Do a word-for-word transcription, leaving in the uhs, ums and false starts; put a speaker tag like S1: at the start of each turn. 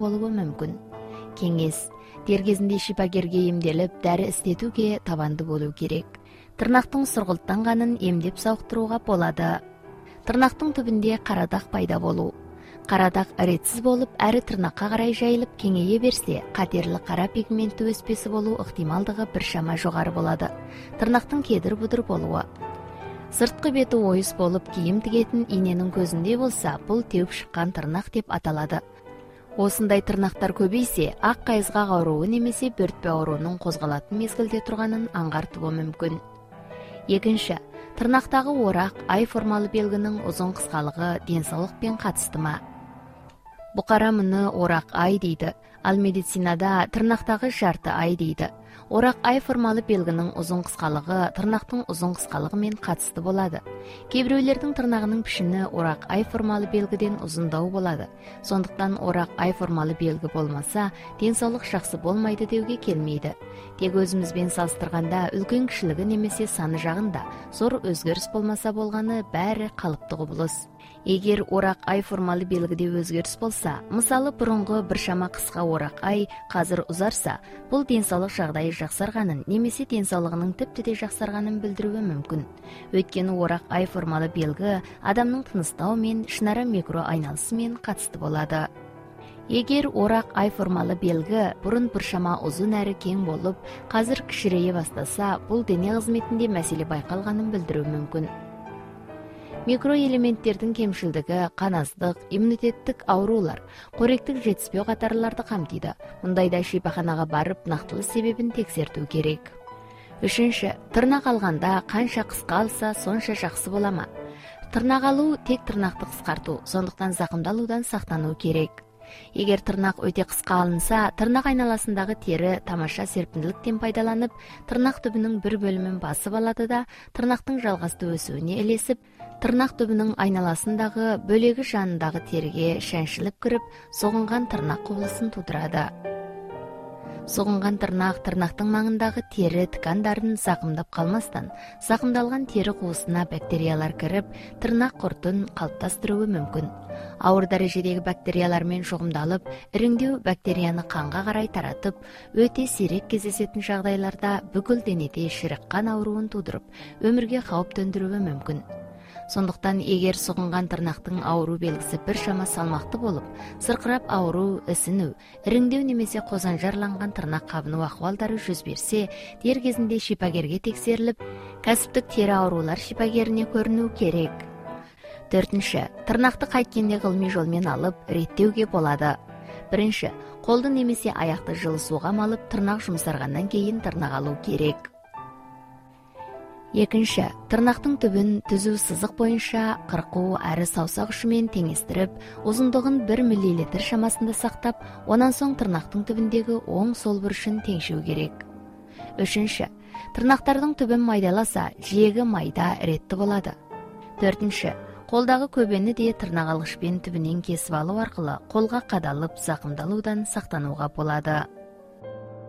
S1: болушу мүмкүн. Кеңес: дер кезинде шипагерге эмделип, дару издетүүгө табанды болуу керек. Тырнактын сургулттанганын эмдеп сауктурууга болот. Тырнактын түбүндө кара дак пайда болуу. Кара дак ретсиз болуп, ары тырнакка карай жайылып кеңейе берсе, катерлі кара пигменттүү өспеси болуу ыктымалдыгы бир шама жогору болот. Тырнактын кедир-будур болуу. Сырткы бети оюз болуп, кийим тигетин ийненин көзүндөй болсо, бул теуп шыккан тырнак деп аталат. Осундай тырнактар көбөйсө, ак кайызгак ооруу немесе бөртпө оорунун козголатын мезгилде турганын аңгартуу мүмкүн. Экинчи, тырнактагы орак, ай формалуу белгинин узун кыскалыгы ден соолук менен катыштымы? Букара муну орак ай дейт. Ал медицинада тырнактагы жарты ай дейт. Орак ай формалуу белгинин узун кыскалыгы тырнактын узун кыскалыгы менен катыштуу болот. Кээ бирөөлөрдүн тырнагынын пишини орак ай формалуу белгиден узундоо болот. Сондуктан орак ай формалуу белги болмаса, ден соолук жакшы болмойт деүүгө келмейт. Тек өзүбүз менен салыштырганда үлкөн кишилиги немесе саны жагында зор өзгөрүш болмаса болгону баары калыптуу кубулуш. Эгер орак ай формалуу белгиде өзгөрүш болсо, мисалы мурунку бир шама кыска орак ай азыр узарса, бул ден соолук жагдайы жаксарганын немесе ден соолугунун типтей жаксарганын билдирүүгө мүмкүн. Өйткөнү орак ай формалуу белги адамдын тыныстоо менен ишнара микро айналышы менен катыштуу болот. Эгер орак ай формалуу белги бурун бир шама узун әрі кең болуп, азыр кичирейе баштаса, бул дене кызметинде маселе байкалганын билдирүү мүмкүн. Микроэлементтердин кемшилдиги, каназдык, иммунитеттик оорулар, коректик жетишпөө катарларды камтыйт. Мындайда шипаханага барып, нактылуу себебин текшертүү керек. Үчүнчү, тырнак алганда канча кыска алса, сонча жакшы боламы? Тырнак алуу тек тырнакты кыскартуу, сондуктан закымдалуудан сактануу керек. Эгер тырнак өтө кыска алынса, тырнак айналасындагы тери тамаша серпимдиликтен пайдаланып, тырнак түбүнүн бир бөлүмүн басып алат да, тырнактын жалгастуу өсүүнө элесип, тырнак түбүнүн айналасындагы бөлөгү жанындагы териге шаншылып кирип, согунган тырнак кубулусын туудурат. Согунган тырнак тырнактын маңындагы тери ткандарын закымдап калмастан, закымдалган тери куусуна бактериялар кирип, тырнак куртун калыпташтыруу мүмкүн. Ауыр дарежедеги бактериялар менен чогумдалып, ириңдүү бактерияны канга карай таратып, өтө сирек кездешетін жагдайларда бүкүл денеде ширек кан ооруун туудуруп, өмүргө кауп төндүрүүгө мүмкүн. Сондуктан эгер согунган тырнактын ооруу белгиси бир шама салмактуу болуп, сыркырап ооруу, ысынуу, ириңдөө немесе козанжарланган тырнак кабынуу акыбалдары жүз берсе, дер кезинде шипагерге текшерилип, касыптык тери оорулар шипагерине көрүнүү керек. Төртүнчү, тырнакты кайткенде кылмый жол менен алып, реттөөгө болот. Биринчи, колду немесе аякты жылы сууга малып, тырнак жумсаргандан кийин тырнак алуу керек. Экинчи, тырнактын түбүн түзүү сызык боюнча кыркуу ары саусак ушу менен теңестирип, узундугун бир миллилитр шамасында сактап, онан соң тырнактын түбүндөгү оң сол бурушун теңшүү керек. Үчүнчү, тырнактардын түбүн майдаласа, жээги майда реттүү болот. Төртүнчү, колдагы көбөнү де тырнак алгычпен түбүнөн кесип алуу аркылуу колго кадалып, закымдалуудан сактанууга болот.